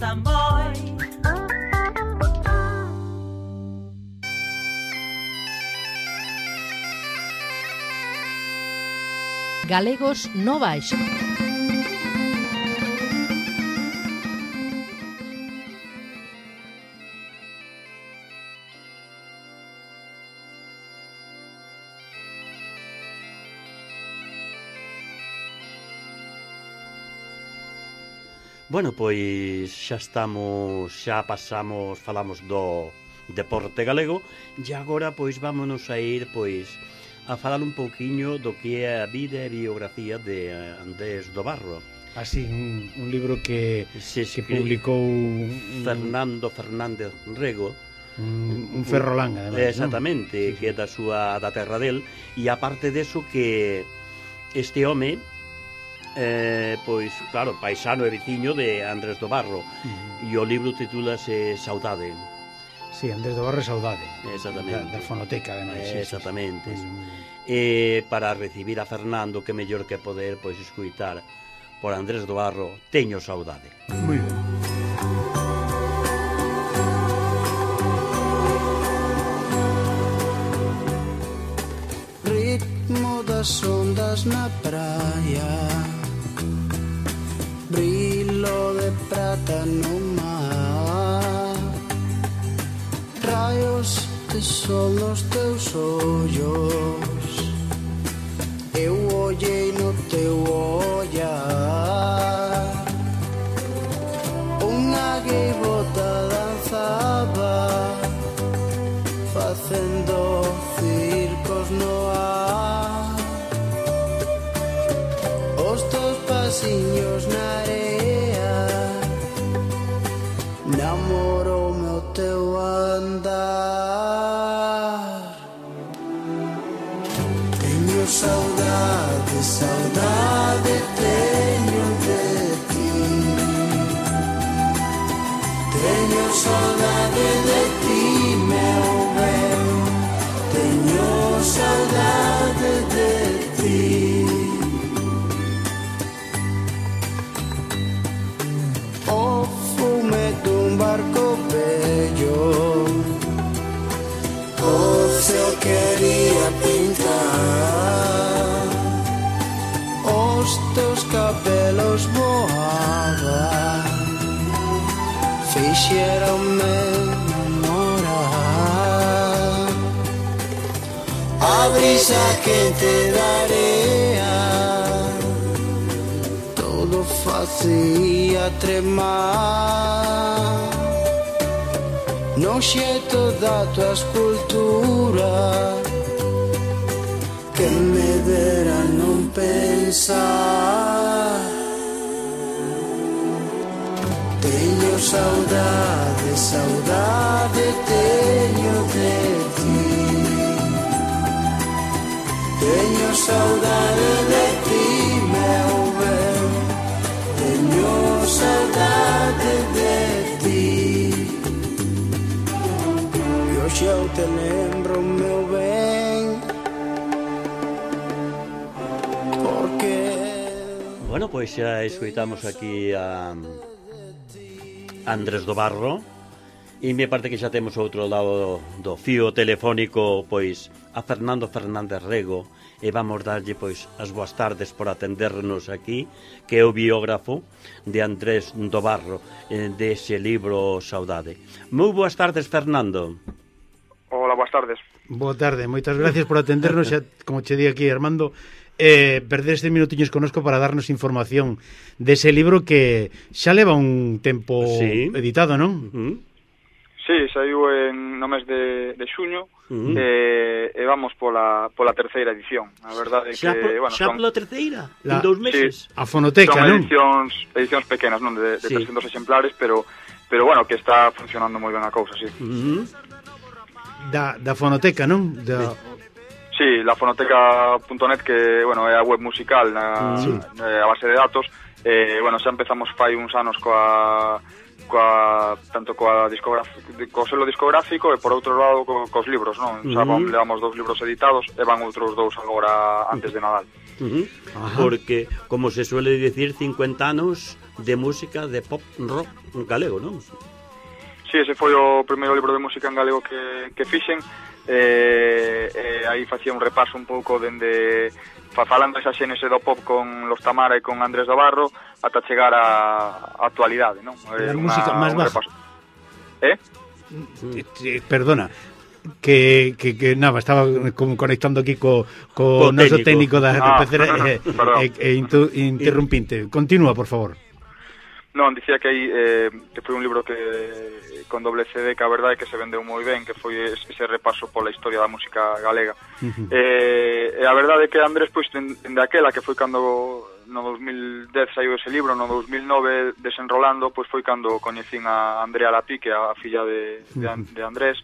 gustan moi. Galegos no Baixo. Bueno, pois xa pasamos, falamos do deporte galego e agora pois vámonos a ir pois a falar un pouquiño do que é a vida e biografía de Andrés do Barro. Así, un libro que publicou Fernando Fernández Rego, un ferrolán, además. Exactamente, ¿no? Que é da terra del, e aparte deso que este home pois, claro, paisano e veciño de Andrés do Barro, e o libro titúlase Saudade. Sí, Andrés do Barro e Saudade. Exactamente. Da fonoteca, además. Exactamente. E para recibir a Fernando, que mellor que poder pois escuitar por Andrés do Barro, Teño Saudade. Moi ben. Ritmo das ondas na praia, brillo de prata no mar, raios de sol nos teus ollos, eu ollei no teu ollar, unha gaivota danzaba facendo circos no ar, os teus pasiños na area, namoroume o teu andar. Teño saudade, saudade teño de ti, teño saudade de ti, meu ben, teño saudade de ti. O fume dun barco bello, o ceo quería pintar, os teus cabelos voaban, fixeronme namorar, a brisa quente da area todo facía tremar, no xeito da tua escultura que me dera non pensar. Teño saudade, saudade teño de ti, teño saudade de ti, meu ben, teño saudade de ti. E hoxe eu te lembro, meu ben, porque... Bueno, pois xa escoitamos aquí a Andrés do Barro, e me parte que xa temos outro lado do fío telefónico pois a Fernando Fernández Rego, e vamos darlle pois as boas tardes por atendernos aquí, que é o biógrafo de Andrés do Barro, dese libro Saudade. Moi boas tardes, Fernando. Hola, boas tardes. Boa tarde, moitas gracias por atendernos, xa, como che di aquí Armando, perder estes minutiños conosco para darnos información dese libro que xa leva un tempo editado, non? Sí, saiu no mes de xuño, e vamos pola terceira edición. A verdade é que... Xa pola terceira? En 2 meses? Sí, a fonoteca, non? Son edicións pequenas, non? De 300 exemplares, pero bueno, que está funcionando moi ben a cousa, sí. Da fonoteca, non? Sí, la fonoteca.net, que, bueno, é a web musical, a base de datos. Bueno, xa empezamos fai uns anos tanto co selo discográfico e por outro lado cos libros, non? Xa levamos 2 libros editados e van outros 2 agora antes de Nadal. Porque, como se suele decir, 50 anos de música de pop rock galego, non? Sí, ese foi o primeiro libro de música en galego que fixen. Aí facía un repaso un pouco dende falando esa xénese do pop con Los Tamara e con Andrés do Barro ata chegar á actualidade, non? A música máis baja. Perdona, que nada, estaba conectando aquí co noso técnico da RPC interrumpinte. Continúa, por favor. Non, dicía que aí que foi un libro que con doble CD, que a verdade é que se vendeu moi ben, que foi ese repaso pola historia da música galega. E a verdade é que Andrés, pois, dende aquela que foi cando no 2010 saiu ese libro, no 2009 desenrolando, pois foi cando coñecín a Andrea Lapí, que é a filla de Andrés,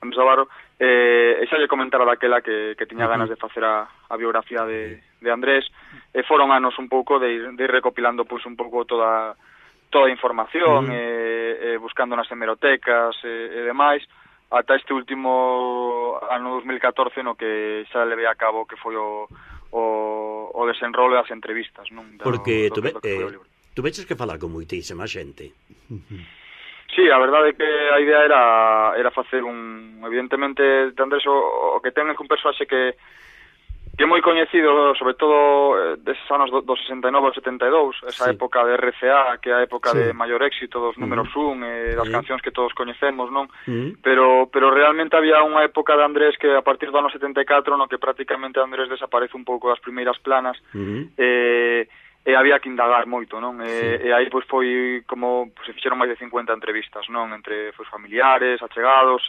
Andrés Navarro, e xa lle comentara daquela que tiña ganas de facer a biografía de Andrés, e foron anos un pouco de ir recopilando pois un pouco toda a información, buscando nas hemerotecas e demais, ata este último ano 2014 no que xa levei a cabo que foi o desenrolo das entrevistas, non? Porque tú veches que falar con moitísima xente. Sí, a verdade é que a idea era facer evidentemente, Andrés o que ten é un personaxe que é moi coñecido, sobre todo deses anos do 69 ao 72, esa época de RCA, que é a época de maior éxito dos números 1 e das cancións que todos coñecemos, non? Pero realmente había unha época de Andrés que a partir do ano 74 no que prácticamente Andrés desaparece un pouco das primeiras planas, e había que indagar moito, non? E aí pois foi como se fixeron máis de 50 entrevistas, non? Entre familiares, achegados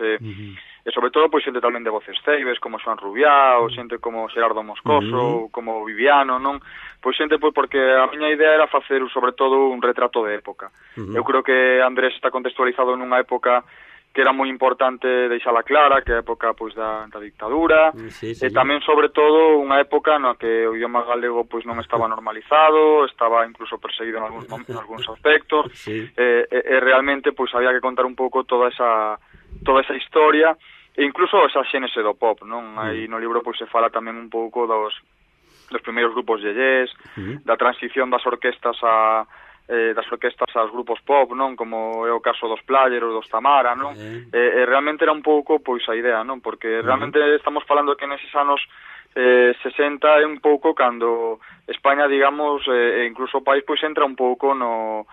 e sobre todo pois xente tamén de voces ceibes como Xoan Rubiá ou xente como Xerardo Moscoso, como Viviano, non? Pois xente pois porque a miña idea era facer sobre todo un retrato de época. Eu creo que Andrés está contextualizado nunha época que era moi importante deixala clara, que é a época pois da dictadura, e tamén sobre todo unha época na que o idioma galego pois non estaba normalizado, estaba incluso perseguido en algúns aspectos, e realmente pois había que contar un pouco toda esa historia e incluso esa xénese do pop, non? Aí no libro pois se fala tamén un pouco dos primeiros grupos yeyés, da transición das orquestas aos grupos pop, non? Como é o caso dos Players, dos Tamara, non? E realmente era un pouco pois a idea, non? Porque realmente estamos falando que neses anos 60 é un pouco cando España, digamos, e incluso o país pois entra un pouco no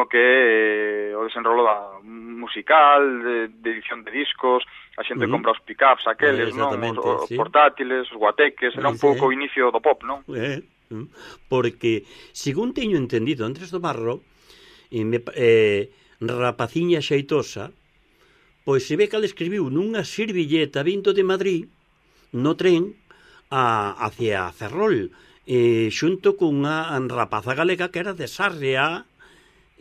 que o desenrolo musical, de edición de discos, a xente compra os pick-ups aqueles, non? Os portátiles, os guateques, era un pouco o inicio do pop, non? Porque, según teño entendido, Andrés do Barro, rapaciña xeitosa, pois se ve que ela escribiu nunha servilleta vindo de Madrid, no tren, hacia Ferrol, xunto cunha rapaza galega que era de Sarria,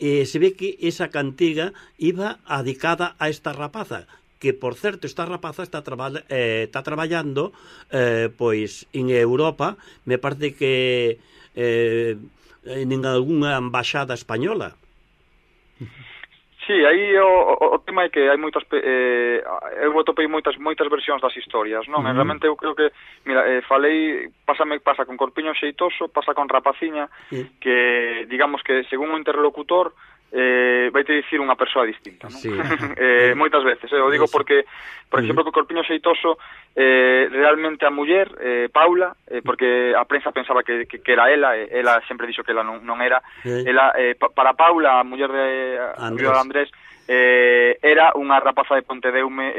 se ve que esa cantiga iba adicada a esta rapaza, que, por certo, esta rapaza está traballando pois en Europa, me parece que en algunha embaixada española. Sí, aí o tema é que hai moitas eu atopei moitas versións das historias, non? Realmente eu creo que, mira, falei, pasa con Corpiño Xeitoso, pasa con Rapaciña, que digamos que según o interlocutor vai te dicir unha persoa distinta, non? Moitas veces, eu digo porque, por exemplo, que o Corpiño Xeitoso realmente a muller, Paula, porque a prensa pensaba que era ela sempre dixo que ela non era, para Paula, a muller de Andrés, era unha rapaza de Pontedeume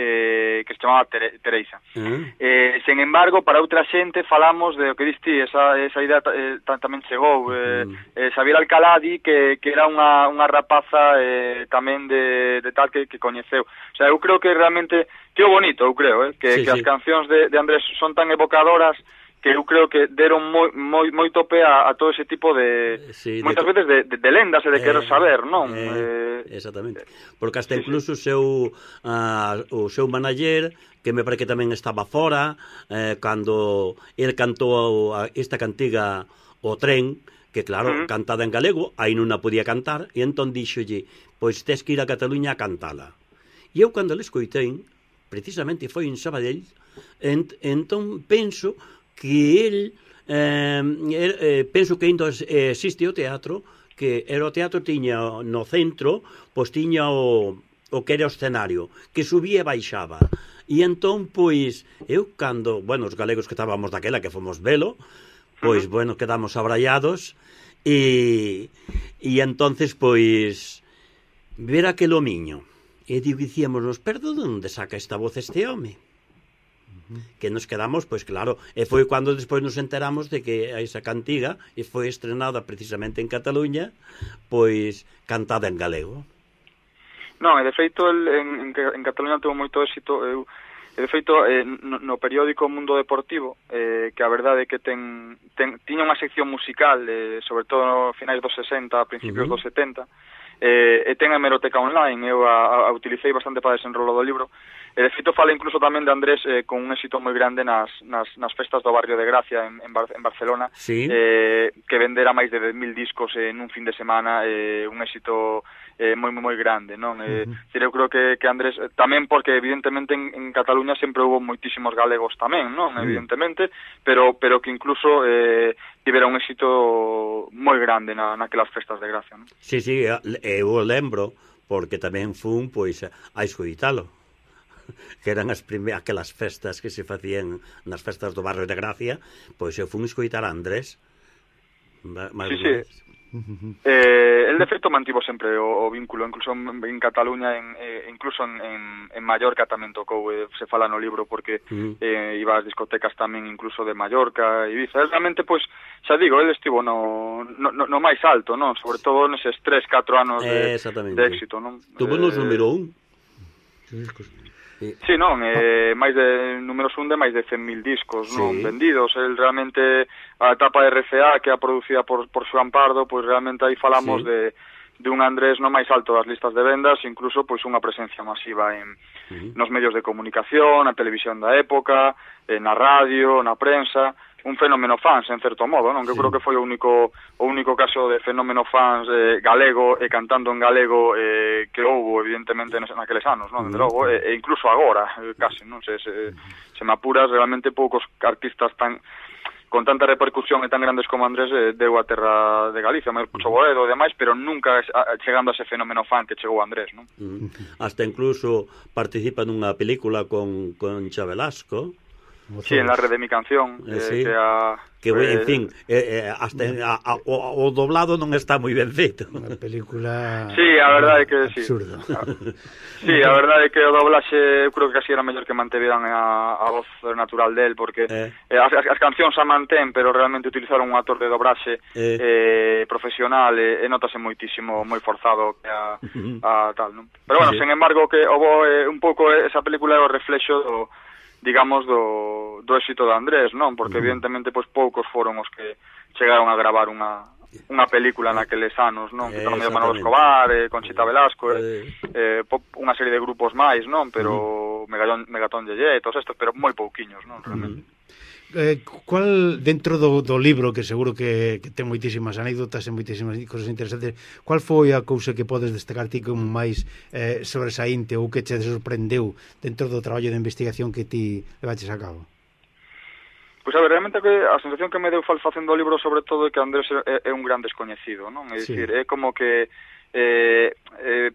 que se chamaba Teresa. Sen embargo, para outra xente falamos de o que diste, esa idea tamén chegou. Xavier Alcalá di que era unha rapaza tamén de tal que coñeceu. O sea, eu creo que realmente que o bonito, eu creo, que as cancións de Andrés son tan evocadoras que eu creo que deron moito pé a todo ese tipo de moitas veces de lendas e de querer saber, non? Exactamente. Porque hasta incluso o seu manager, que me parece que tamén estaba fora, cando el cantou esta cantiga O Tren, que claro, cantada en galego, aí non a podía cantar, e entón dixolle, pois tes que ir a Cataluña a cantala. E eu cando le escoitei, precisamente foi en Sabadell, entón penso que el penso que ainda existe o teatro, que era o teatro tiña no centro, pois tiña o que era o escenario, que subía e baixaba. E entón, pois, eu cando, bueno, os galegos que estábamos daquela, que fomos velo, pois, bueno, quedamos abrallados, e entonces, pois, ver aquel homiño, e dicíamos, pero de onde saca esta voz este home? Que nos quedamos, pois claro, e foi cando despois nos enteramos de que esa cantiga e foi estrenada precisamente en Cataluña, pois cantada en galego. Non, e de feito en Cataluña tuvo moito éxito. De feito no periódico Mundo Deportivo, que a verdade é que tiña unha sección musical, sobre todo no finais dos 60, a principios dos 70, e ten a hemeroteca online. Eu a utilicei bastante para desenrolo do libro. E de feito fala incluso tamén de Andrés con un éxito moi grande nas festas do barrio de Gracia en Barcelona, sí. Que vendera máis de 10.000 discos nun fin de semana, un éxito moi grande, non? Eu creo que Andrés, tamén porque evidentemente en Cataluña sempre hubo moitísimos galegos tamén, non? Evidentemente, pero que incluso tivera un éxito moi grande naquelas festas de Gracia, non? Sí, eu o lembro, porque tamén fun, pois, a escoitalo, que eran aquelas festas que se facían nas festas do barrio de Gracia, pois eu fun escoitar a Andrés. Sí. El de feito mantivo sempre o vínculo, incluso en Cataluña, incluso en Mallorca tamén tocou, se fala no libro, porque iba ás discotecas tamén incluso de Mallorca e Ibiza. Realmente, pois, xa digo, el estivo no máis alto, non? Sobre todo neses 3-4 anos de éxito, non? Tuvo nos número 1. Sí, non, máis de números 1 de máis de 100.000 discos, non, vendidos. El realmente, a etapa de RCA, que é producida por Xoán Pardo, pois realmente aí falamos de un Andrés no máis alto das listas de vendas, incluso pois unha presencia masiva nos medios de comunicación, na televisión da época, na radio, na prensa. Un fenómeno fans, en certo modo, non? Que eu creo que foi o único caso de fenómeno fans galego e cantando en galego que houbo, evidentemente, naqueles anos, non? Desde logo, e incluso agora, casi, non? Se me apuras, realmente poucos artistas con tanta repercusión e tan grandes como Andrés deu a terra de Galicia, máis Pucho Boedo e demais, pero nunca chegando a ese fenómeno fan que chegou Andrés, non? Hasta incluso participa nunha película con Cha Velasco. Sí, en la red de mi canción, sí. En fin, hasta o doblado non está moi ben feito. Unha película... Sí, a verdade é que sí. Absurdo. Sí, a verdade é que o doblaxe eu creo que casi era mellor que manteveran a voz natural del, porque as cancións a mantén, pero realmente utilizaron un actor de doblaxe profesional e notase moitísimo, moi forzado a tal, non? Pero bueno, sen embargo, que houbo un pouco esa película é o reflexo digamos, do éxito de Andrés, non? Porque evidentemente pois poucos foron os que chegaron a gravar unha película naqueles anos, non? Que tamén Manolo Escobar, Conchita Velasco, unha serie de grupos máis, non? Pero Megatón Yeye, todos estos, pero moi pouquiños, non? Realmente. Cual, dentro do libro, que seguro que ten moitísimas anécdotas e moitísimas cosas interesantes, cual foi a cousa que podes destacar ti como máis sobresaínte ou que che sorprendeu dentro do traballo de investigación que ti levaches a cabo? Pois a ver, realmente a sensación que me deu facendo o libro sobre todo é que Andrés é un gran descoñecido, non? É dicir, é como que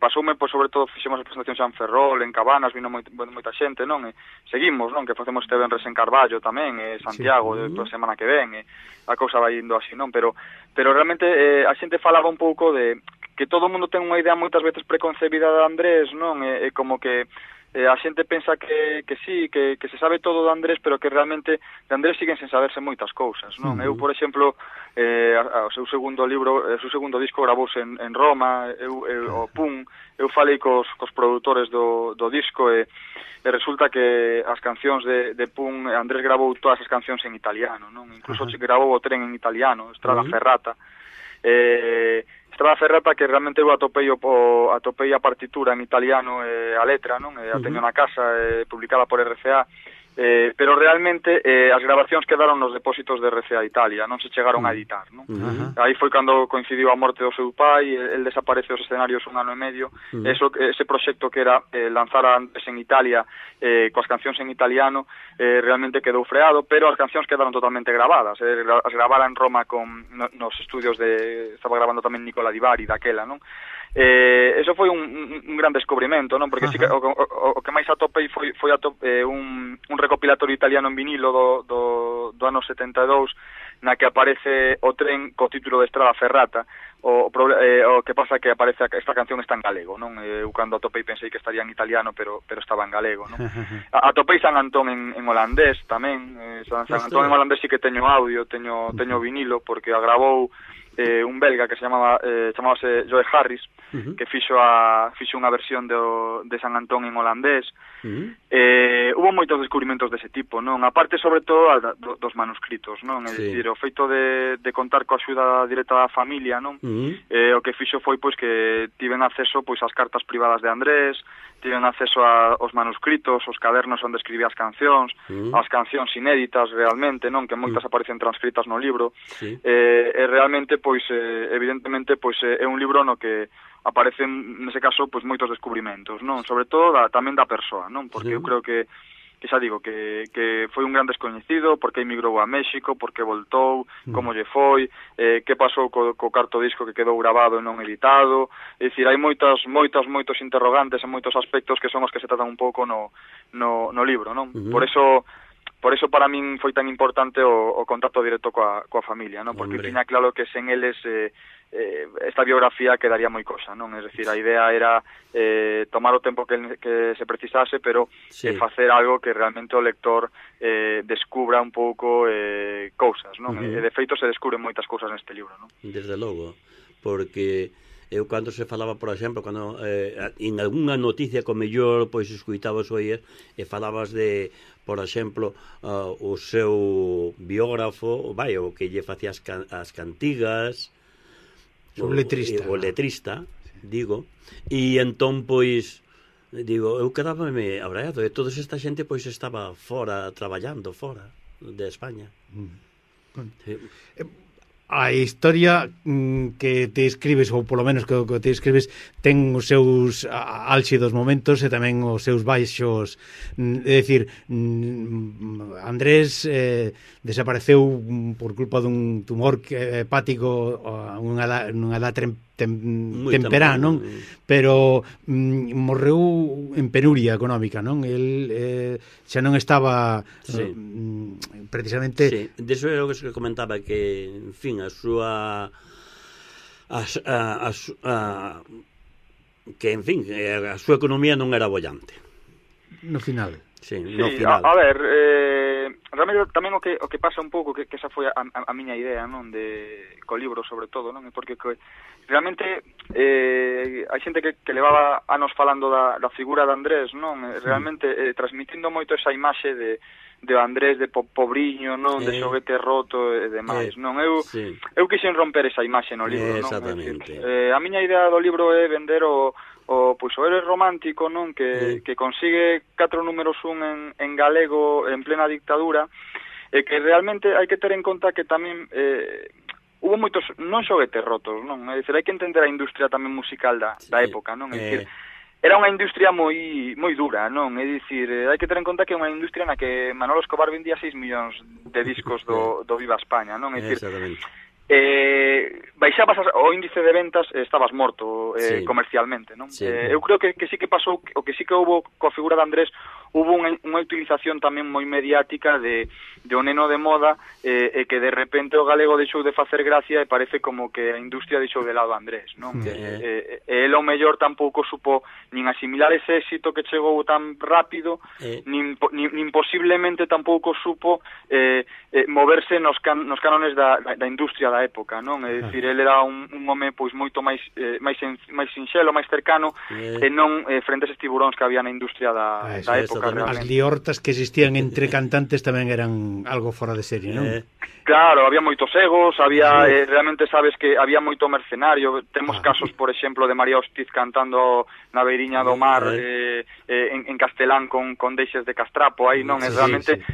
pasoume, pois, sobre todo, fixemos a presentación xa en Ferrol, en Cabanas, vino moita xente, non? E seguimos, non? Que facemos este venres en Carballo tamén, Santiago, toda a semana que ven, a cousa vai indo así, non? Pero realmente a xente falaba un pouco de que todo o mundo ten unha idea moitas veces preconcebida de Andrés, non? E como que a xente pensa que sí, que se sabe todo de Andrés, pero que realmente de Andrés siguen sen saberse moitas cousas, non? Eu, por exemplo, o seu segundo libro, o seu segundo disco gravouse en Roma, o PUN, eu falei cos produtores do disco e resulta que as cancións de PUN, Andrés gravou todas as cancións en italiano, non? Incluso gravou o Tren en italiano, Strada Ferrata. Strada Ferrata, que realmente eu atopei a partitura en italiano, a letra, non? A teño na casa, publicada por RCA, pero realmente as grabacións quedaron nos depósitos de RCA Italia, non se chegaron a editar, non? Aí foi cando coincidiu a morte do seu pai, el desaparece dos escenarios un ano e medio, ese proxecto que era lanzar a Andrés en Italia coas cancións en italiano realmente quedou freado, pero as cancións quedaron totalmente grabadas, as gravara en Roma nos estudios estaba grabando tamén Nicola Di Bari daquela, non? Eso foi un gran descubrimento, non? Porque sí que, o que máis atopei foi un recopilatorio italiano en vinilo do ano 72 na que aparece o tren co título de Estrada Ferrata. O que pasa que aparece esta canción está en galego, non? Eu cando atopei pensei que estaría en italiano, pero estaba en galego, non? Atopei San Antón en holandés tamén. San Antón en holandés sí que teño audio, teño vinilo, porque agravou un belga que chamábase Joe Harris, que fixo unha versión de San Antón en holandés. Hubo moitos descubrimentos dese tipo, non? Aparte, sobre todo, dos manuscritos, non? É dicir, o feito de contar coa axuda directa da familia, non? O que fixo foi, pois, que tiven acceso, pois, ás cartas privadas de Andrés, tiven acceso aos manuscritos, os cadernos onde escribía as cancións, as cancións inéditas realmente, non? Que moitas aparecen transcritas no libro. E realmente, pois, evidentemente, pois, é un libro no que aparecen, nese caso, pois moitos descubrimentos, non? Sobre todo tamén da persoa, non? Porque eu creo que xa digo, que foi un gran descoñecido, porque emigrou a México, porque voltou, como lle foi, que pasou co carto disco que quedou grabado e non editado. É dicir, hai moitos interrogantes e moitos aspectos que son os que se tratan un pouco no libro, non? Por eso para min foi tan importante o contacto directo coa familia, non? Porque tiña claro que sen eles esta biografía quedaría moi cosa, non? É dicir, a idea era tomar o tempo que se precisase, pero facer algo que realmente o lector descubra un pouco cousas, non? E de feito se descubren moitas cousas neste libro, non? Desde logo, porque eu cando se falaba, por exemplo, cando en algunha noticia co mellor pois escuitabas oír e falabas de, por exemplo, o seu biógrafo, o que lle facía as cantigas, o letrista, digo, e entón pois digo, eu quedábame abraiado, e toda esta xente pois estaba fora, traballando fora de España. A historia que te escribes, ou polo menos que te escribes, ten os seus álxidos momentos e tamén os seus baixos. É dicir, Andrés desapareceu por culpa dun tumor hepático nunha edad temperá, non? Pero morreu en penuria económica, non? El xa non estaba precisamente... Sí, deso era o que se comentaba, que, en fin, a súa economía non era bollante. No final. Sí, no final. A ver, realmente tamén o que pasa un pouco, que esa foi a miña idea, non, co libro sobre todo, non, porque realmente hai xente que levaba anos falando da figura de Andrés, non, realmente transmitindo moito esa imaxe de Andrés de pobriño, non, de xoguete roto e demais, non, eu quixen romper esa imaxe no libro, non. Exactamente. A miña idea do libro é vender o héroe romántico, non, que consigue 4 números 1 en galego en plena dictadura, e que realmente hai que ter en conta que tamén hubo moitos non xoguetes rotos, non, é dicir, hai que entender a industria tamén musical da época, non, é dicir, era unha industria moi dura, non, é dicir, hai que ter en conta que é unha industria na que Manolo Escobar vendía 6 millóns de discos do Viva España, non, é dicir, baixabas o índice de ventas e estabas morto comercialmente, non? Eu creo que sí que pasou, o que sí que houve coa figura de Andrés, hubo unha utilización tamén moi mediática de o neno de moda, e que de repente o galego deixou de facer gracia e parece como que a industria deixou de lado a Andrés, non? E el o mellor tampouco supo nin asimilar ese éxito que chegou tan rápido, nin posiblemente tampouco supo moverse nos cánones da industria da da época, non? É dicir, ele era un home pois moito máis sinxelo, máis cercano, e non frente a eses tiburóns que había na industria da época realmente. As liortas que existían entre cantantes tamén eran algo fora de serie, non? Claro, había moitos egos, había realmente sabes que había moito mercenario. Temos casos, por exemplo, de María Hostiz cantando na beiriña do mar en castelán con deixes de castrapo aí, non? Realmente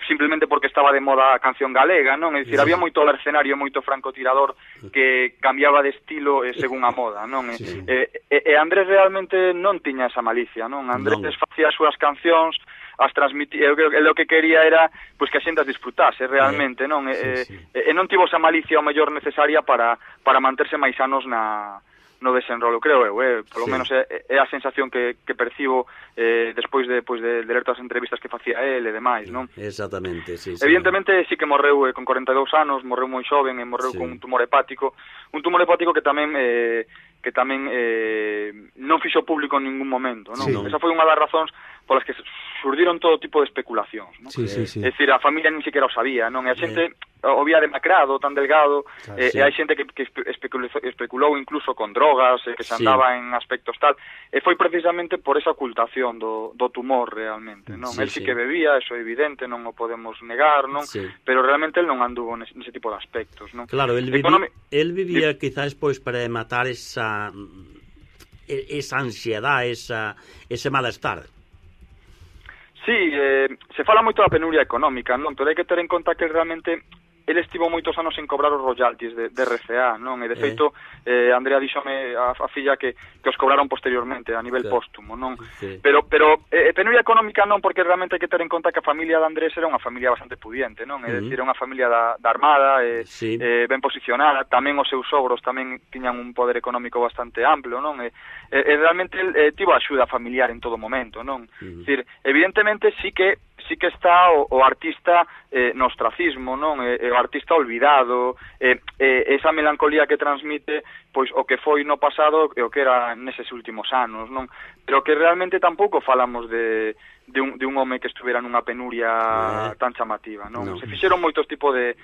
simplemente porque estaba de moda a canción galega, non? É dicir, había moito mercenario, moito francotirador que cambiaba de estilo según a moda, non? E Andrés realmente non tiña esa malicia, non? Andrés facía as súas cancións, as transmitía, o que quería era pois que a xente as disfrutase realmente, non? E non tivo esa malicia o mellor necesaria para manterse máis anos no desenrolo, creo eu, polo menos é a sensación que percibo despois de ler todas as entrevistas que facía el e demais, non? Exactamente, sí. Evidentemente sí que morreu con 42 anos, morreu moi xoven e morreu con un tumor hepático que tamén non fixo público en ningún momento, non? Esa foi unha das razóns polas que surdiron todo tipo de especulacións, non? É dicir, a familia nin siquiera o sabía, non? E a xente o vía demacrado, tan delgado, e hai xente que especulou incluso con drogas, que se andaba en aspectos tal, e foi precisamente por esa ocultación do tumor realmente, non? El sí que bebía, eso é evidente, non o podemos negar, non? Pero realmente el non anduvo nese tipo de aspectos, non? Claro, el vivía quizás pois para matar esa ansiedade, ese malestar. Sí, se fala moito da penuria económica, non? Pero hai que ter en conta que realmente ele estivo moitos anos sen cobrar os royalties de RCA, non? E de feito, Andrea díxome a filla que os cobraron posteriormente a nivel póstumo, non? Pero penuria económica non, porque realmente hai que ter en conta que a familia de Andrés era unha familia bastante pudiente, non? É dicir, unha familia da Armada, ben posicionada, tamén os seus sogros tamén tiñan un poder económico bastante amplo, non? E realmente tivo axuda familiar en todo momento, non? É dicir, evidentemente sí que está o artista no ostracismo, non? O artista olvidado, esa melancolía que transmite pois o que foi no pasado e o que era neses últimos anos, non? Pero que realmente tampouco falamos de un home que estuvera nunha penuria tan chamativa, non? Se fixeron moitos tipos de...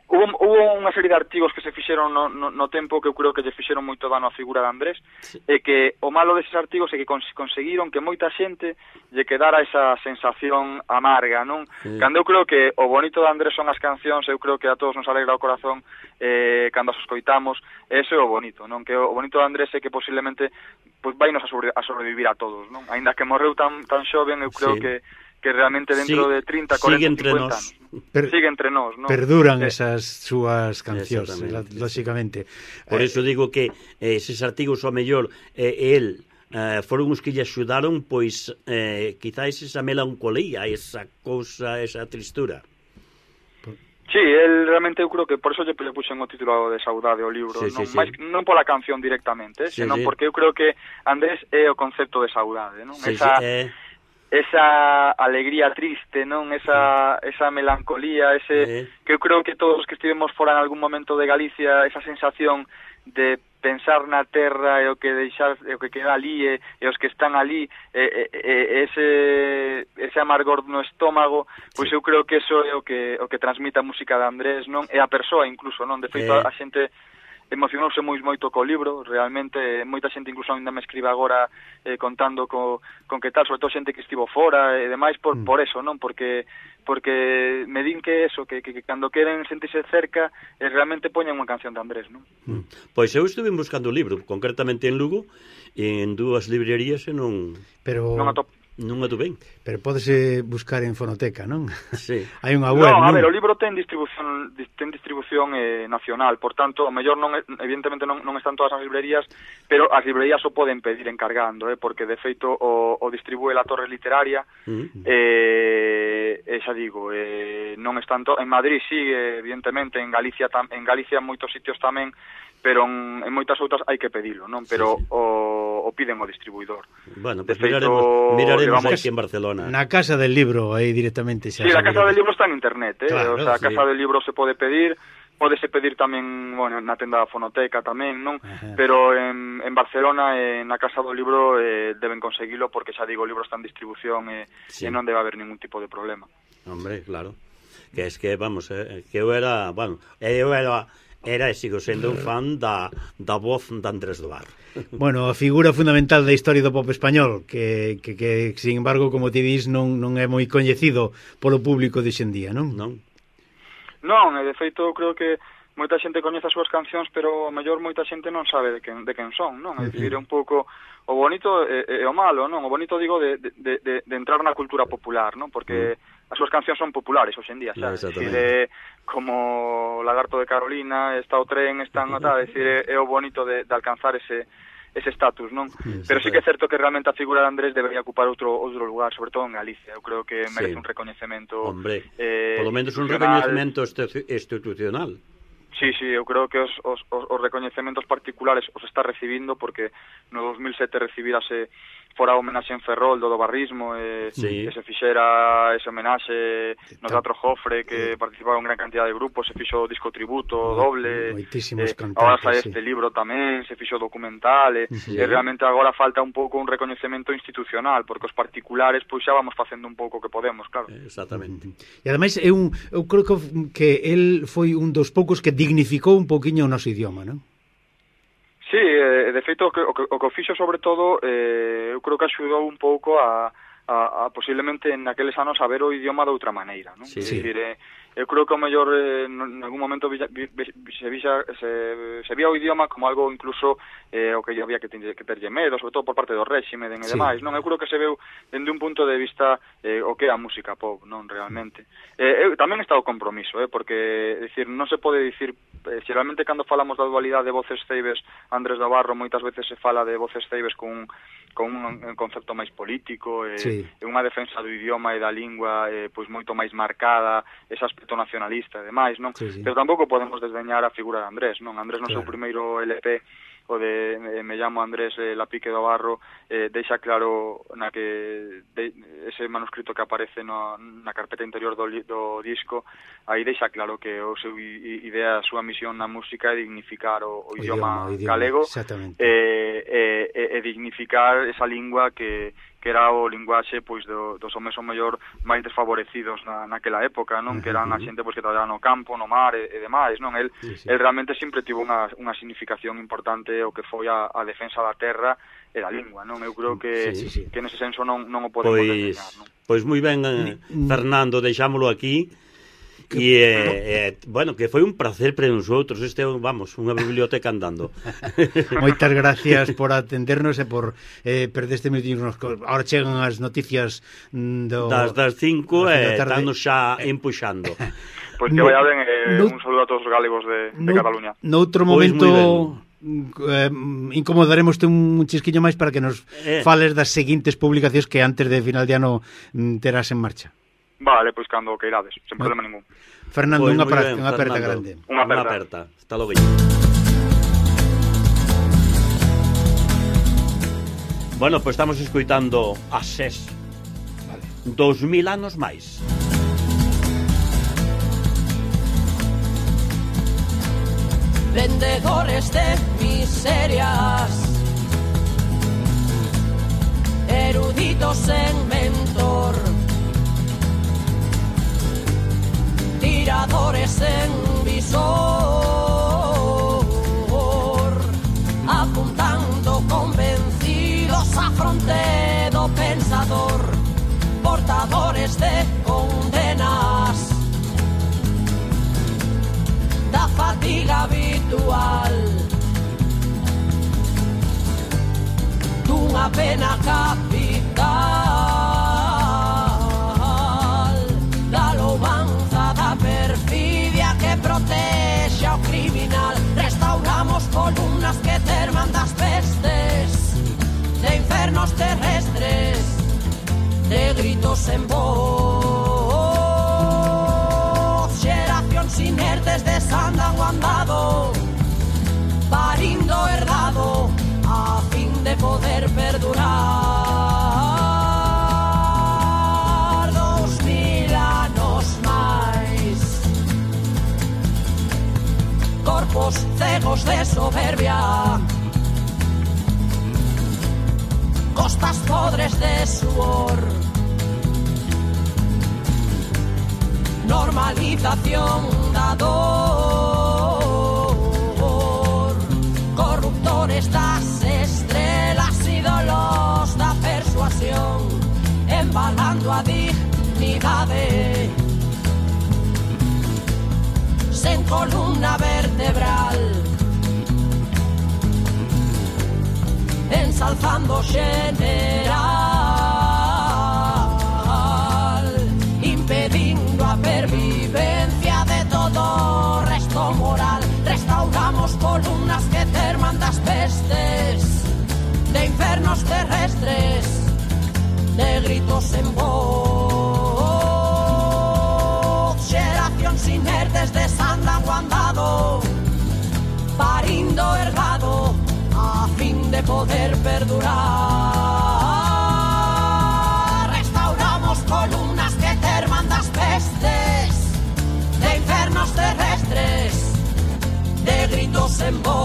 Hubo unha serie de artigos que se fixeron no tempo que eu creo que lle fixeron moito dano á figura de Andrés, e que o malo deses artigos é que conseguiron que moita xente lle quedara esa sensación amarga, non? Cando eu creo que o bonito de Andrés son as cancións, eu creo que a todos nos alegra o corazón cando as escoitamos, eso é o bonito, non? Que o bonito de Andrés é que posiblemente pois vainos a sobrevivir a todos, non? Aínda que morreu tan xoven, eu creo que realmente dentro de 30, 40, 50 anos sigue entre nós, non? Perduran esas súas cancións, lógicamente. Por iso digo que eses artigos ao mellor el foron os que lle axudaron pois quizás esa melancolía, esa cousa, esa tristura. Sí, el realmente eu creo que por eso lle puxen o título de Saudade ao libro, non pola canción directamente, senón porque eu creo que Andrés é o concepto de saudade, non? Esa alegría triste, non? Esa melancolía, que eu creo que todos os que estivemos fora en algún momento de Galicia, esa sensación de pensar na terra e o que queda ali e os que están ali, ese amargor no estómago, pois eu creo que eso é o que transmite a música de Andrés, non? E a persoa incluso, non? De feito, a xente emocionouse moito co libro, realmente moita xente incluso ainda me escribe agora contando con que tal, sobre todo xente que estivo fora e demais por eso, non? Porque me din que eso, que cando queren sentirse cerca realmente poñen unha canción de Andrés, non? Pois eu estuve buscando o libro, concretamente en Lugo, en dúas librerías e non atopei. Pero pódese buscar en fonoteca, non? Sí. Hai unha web, non? A ver, o libro ten distribución nacional, por tanto, o mellor evidentemente non están todas as librerías, pero as librerías o poden pedir encargando, porque de feito o distribúe la Torre Literaria, xa digo, non están en Madrid, sí, evidentemente, en Galicia en moitos sitios tamén, pero en moitas outras hai que pedilo, non? Pero o piden o distribuidor. Bueno, pues miraremos aquí en Barcelona. Na Casa del Libro, aí directamente xa. Sí, a Casa del Libro está en internet, Claro, o sea, a Casa del Libro se pode pedir, pódese pedir tamén, bueno, na tenda da Fonoteca tamén, non? Pero en Barcelona, na Casa do Libro, deben conseguilo, porque xa digo, o libro está en distribución e non debe haber ningún tipo de problema. Hombre, claro. Que es que, vamos, que eu era era e sigo sendo un fan da voz de Andrés do Barro. Bueno, a figura fundamental da historia do pop español que sin embargo, como ti dis, non é moi coñecido polo público de xendía, non? Non, de feito, creo que moita xente coñece as súas cancións, pero a mellor moita xente non sabe de quen son, non? É dicir, é un pouco o bonito e o malo, non? O bonito, digo, de entrar na cultura popular, non? Porque as súas cancións son populares hoxe en día, xa. É dicir, como Lagarto de Carolina, está o tren, está nota, é dicir, é o bonito de alcanzar ese estatus, non? Pero sí que é certo que realmente a figura de Andrés debería ocupar outro lugar, sobre todo en Galicia. Eu creo que merece un recoñecemento. Hombre, polo menos un recoñecemento institucional. Sí, eu creo que os recoñecementos particulares os está recibindo, porque no 2007 recibirase fora a homenaxe en Ferrol do barrismo, que se fixera ese homenaxe no Teatro Jofre, que participaron gran cantidad de grupos, se fixo disco tributo doble, agora sai este libro tamén, se fixo documental, e realmente agora falta un pouco un recoñecemento institucional, porque os particulares pois xa vamos facendo un pouco o que podemos, claro. Exactamente. E ademais eu creo que el foi un dos poucos que dignificou un poquinho o noso idioma, non? Sí, de feito, o que fixo sobre todo, eu creo que axudou un pouco a posiblemente naqueles anos a ver o idioma de outra maneira, non? Sí. Dicir, eu creo que o mellor en algún momento se vía o idioma como algo incluso o que había que terlle medo, sobre todo por parte do réxime e demais, non? Eu creo que se veu dende un punto de vista o que é a música pop, non? Realmente. Tamén está o compromiso, porque, decir, non se pode dicir, xeralmente cando falamos da dualidade de voces ceibes Andrés do Barro, moitas veces se fala de voces ceibes con un concepto máis político, unha defensa do idioma e da lingua pois moito máis marcada, ese aspecto nacionalista e demais, non? Pero tampouco podemos desdeñar a figura de Andrés, non? Andrés no seu primeiro LP, o de Me llamo Andrés Lapique do Barro, deixa claro na que ese manuscrito que aparece na carpeta interior do disco, aí deixa claro que o seu idea, a súa misión na música é dignificar o idioma galego e dignificar esa lingua que era o linguaxe pois dos homes o mellor máis desfavorecidos naquela época, non? Que eran a xente pois que traballaba no campo, no mar e demais, non? El realmente sempre tivo unha significación importante o que foi a defensa da terra e da lingua, non? Eu creo que nese senso non o podemos desdeñar, non? Pois moi ben, Fernando, deixámolo aquí. E, bueno, que foi un placer para nosotros. Este, vamos, unha biblioteca andando. Moitas gracias por atendernos e por perder este minutinho. Ahora chegan as noticias das 5 e estamos xa empuxando. Pois que vaya ben, un saludo a todos os galegos de Cataluña. Noutro momento incomodaremos un chisquiño máis para que nos fales das seguintes publicacións que antes de final de ano terás en marcha. Vale, pois cando queirades, sen problema ningún. Fernando, unha aperta grande. Unha aperta. Hasta logo. Bueno, pois estamos escoitando a SES. Vale. 2000 anos máis. Vendedores de miserias, eruditos en mentor, tiradores en visor, apuntando convencidos a fronte do pensador, portadores de condenas da fatiga habitual, dunha pena capital, da louvanza da perfidia que protexe ao criminal. Restauramos columnas que terman das pestes, de infernos terrestres, de gritos en voz, xeracións inertes desandan o andado, parindo herdado a fin de poder perdurar 2000 anos máis. Corpos cegos de soberbia, costas podres de suor, normalización da dor, súa dignidade. Sen columna vertebral, ensalzando general, impedindo a pervivencia de todo o resto moral. Restauramos columnas que terman das pestes, de infernos terrestres, de gritos en voz. Xeracións inertes desandan o andado, parindo ergado, a fin de poder perdurar. Restauramos columnas que terman das pestes, de infernos terrestres, de gritos en voz.